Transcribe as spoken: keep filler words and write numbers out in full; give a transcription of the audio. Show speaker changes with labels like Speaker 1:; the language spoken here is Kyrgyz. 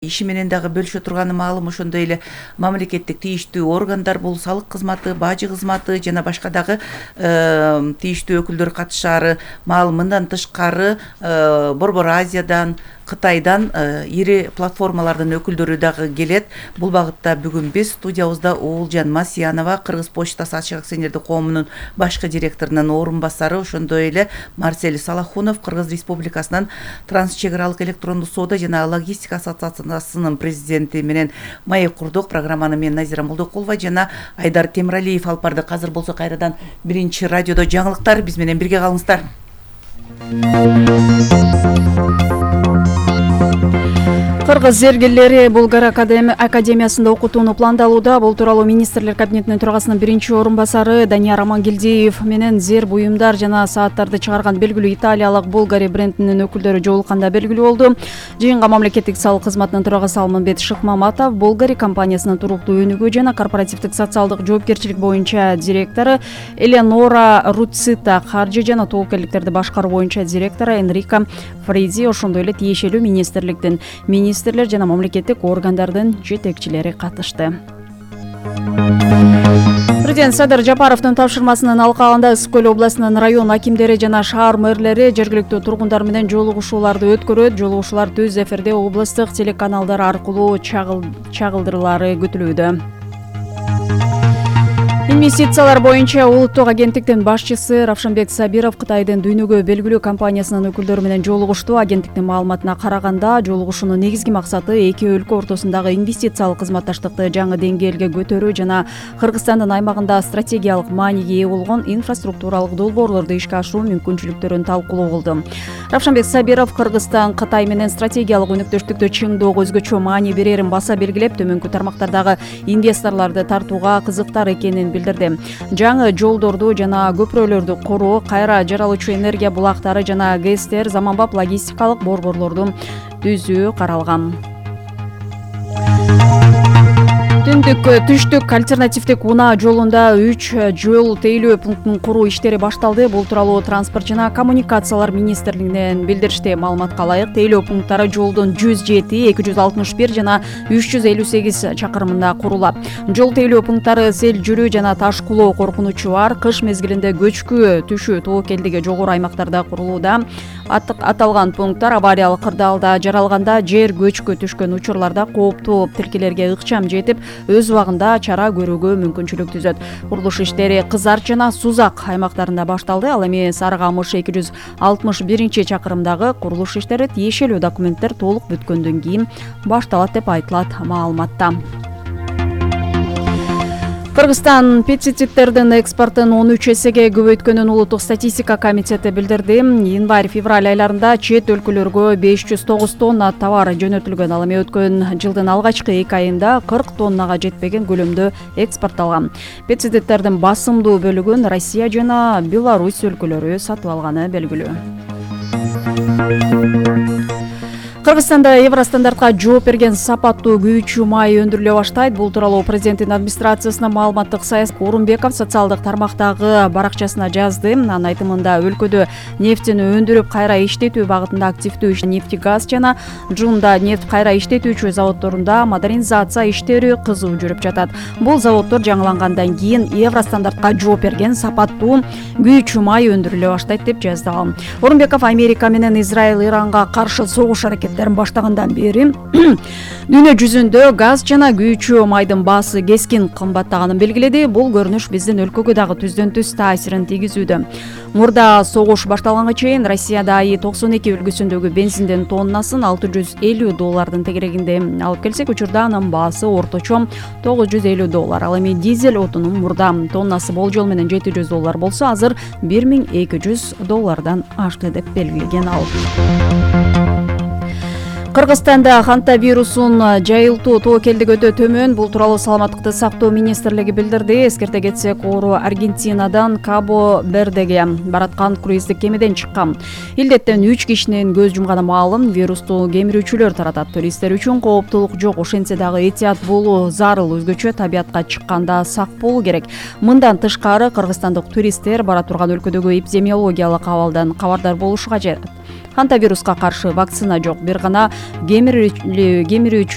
Speaker 1: Иши менен дагы бөлүшө турганы маалым, ошондой эле мамлекеттик тийиштүү органдар, бул салык кызматы, бажы кызматы жана башка дагы тийиштүү өкүлдөр катышаары маалым. Мындан тышкары Борбор Азиядан, Кытайдан ири платформалардын өкүлдөрү дагы келет. Бул багытта бүгүн биз студиябызда Уулжан Масиянова, Кыргыз почтасы ачык акционердик коомунун башкы директорунун орун басары, ошондой эле Марсель Салахунов, Кыргыз Республикасынын транс чек аралык электрондук соода жана логистика ассоциациясынын президенти менен маек курдук. Программаны мен Назира Молдокулова жана Айдар Темиралиев алып бардык. Азыр болсо кайрадан биринчи радиодо жаңылыктар, биз менен бирге калыңыздар.
Speaker 2: Кыргыз зергерлери Булгар академиясында окутууну пландалууда. Бул тууралуу министрлер кабинетинин төрагасынын биринчи орун басары Данияр Амангелдиев менен зер буюмдар жана сааттарды чыгарган белгилүү италиялык Булгари брендинин өкүлдөрү жолукканда белгилүү болду. Жыйынга мамлекеттик салык кызматынын төрагасы Алмамбет Шыкмаматов, Булгари компаниясынын туруктуу өнүгүү жана корпоративдик социалдык жоопкерчилик боюнча директору Элеонора Руцита, каржы жана тобокелдиктерди башкаруу боюнча директору Энрико Фризи, ошондой эле тиешелүү министрликтин министрлер жана мамлекеттик органдардын жетекчилери катышты. Президент Садыр Жапаровдун тапшырмасынын алкагында Ысык Көл областынын район акимдери жана шаар мэрлери жергиликтүү тургундар менен жолугушууларды өткөрөт. Жолугушуулар түз эфирде облустук телеканалдар аркылуу чагылдырылары күтүлүүдө. Инвестициялар боюнча улуттук агенттиктин башчысы Равшанбек Сабиров Кытайдын дүйнөгө белгилүү компаниясынын өкүлдөрү менен жолугушту. Агенттиктин маалыматына караганда, жолугушуунун негизги максаты эки өлкө ортосундагы инвестициялык кызматташтыкты жаңы деңгээлге көтөрүү жана Кыргызстандын аймагында стратегиялык мааниге ээ болгон инфраструктуралык долбоорлорду ишке ашыруу мүмкүнчүлүктөрүн талкуулоо болду. Равшанбек Сабиров Кыргызстан Кытай менен стратегиялык өнөктөштүктү чыңдоого өзгөчө маани берерин баса белгилеп, төмөнкү тармактардагы инвесторлорду тартууга кызыктар экенин билдирди. Жаңы жолдорду жана көпүрөлөрдү куруу, кайра жаралуучу энергия булактары жана ГЭСтер, заманбап логистикалык борборлорду түзүү каралган. Түндүк түштүк альтернативдик унаа жолунда үч жол тейлөө пунктунун куруу иштери башталды. Бул тууралуу транспорт жана коммуникациялар министрлигинен билдиришти. Маалыматка ылайык, тейлөө пункттары жолдун жүз жети, эки жүз алтымыш бир жана үч жүз элүү сегиз чакырымында курулат. Жол тейлөө пункттары сел жүрүү жана таш кулоо коркунучу бар. Кыш мезгилинде көчкү түшүү тобокелдиги жогору аймактарда курулууда. Аталган пункттар авариялык кырдаалда жаралганда, жер көчкү түшкөн учурларда кооптуу тилкелерге ыкчам жетип, өз убагында чара көрүүгө мүмкүнчүлүк түзөт. Курулуш иштери Кызар жана Сузак аймактарында башталды. Ал эми Сары Камыш эки жүз алтымыш биринчи чакырымдагы курулуш иштери тиешелүү документтер толук бүткөндөн кийин башталат деп айтылат маалыматта. Кыргызстан пестициддердин экспортун он үч эсеге көбөйткөнүн улуттук статистика комитети билдирди. Январь-февраль айларында чет өлкөлөргө беш жүз тогуз тонна товар жөнөтүлгөн. Ал эми өткөн жылдын алгачкы эки айында кырк тоннага жетпеген көлөмдө экспортталган. Пестициддердин басымдуу бөлүгүн Россия жана Беларусь өлкөлөрү сатып алганы белгилүү. Кыргызстанда Евростандартка жооп берген сапаттуу күйүүчү май өндүрүлө баштайт. Бул тууралуу президенттин администрациясынын маалыматтык саясат Орунбеков социалдык тармактагы баракчасына жазды. Анын айтымында, өлкөдө нефтини өндүрүп кайра иштетүү багытында активдүү иш нефтегаз жана Жунда нефть кайра иштетүүчү заводдорунда модернизация иштери кызуу жүрүп жатат. Бул заводдор жаңылангандан кийин Евростандартка жооп берген сапаттуу күйүүчү май өндүрүлө баштайт деп жазды ал. Орунбеков Америка менен Израиль Иранга каршы согуш аракет баштагандан бери дүйнө жүзүндө газ жана күйүүчү майдын баасы кескин кымбаттаганын белгиледи. Бул көрүнүш биздин өлкөгө дагы түздөн түз таасирин тийгизүүдө. Мурда согуш башталганга чейин Россияда айы токсон эки үлгүсүндөгү бензиндин тоннасын алты жүз элүү доллардын тегерегинде алып келсек, учурда анын баасы орточо тогуз жүз элүү доллар. Ал эми дизель отунун мурда тоннасы болжол менен жети жүз доллар болсо, азыр бир миң эки жүз доллардан ашты деп белгилеген ал. Кыргызстанда ханта вирусун жайылтуу тобокелдиги өтө төмөн. Бул тууралуу саламаттыкты сактоо министрлиги билдирди. Эскерте кетсек, оору Аргентинадан Кабо Вердеге бараткан круиздик кемеден чыккан. Илдеттен үч кишинин көз жумганы маалым. Вирусту кемирүүчүлөр таратат. Туристтер үчүн кооптулук жок. Ошентсе дагы этият болуу зарыл. Өзгөчө табиятка чыкканда сак болуу керек. Мындан тышкары, кыргызстандык туристтер бара турган өлкөдөгү эпидемиологиялык абалдан кабардар болушу кажет. Хантавируска каршы вакцина жок. Бир гана кемирүүчү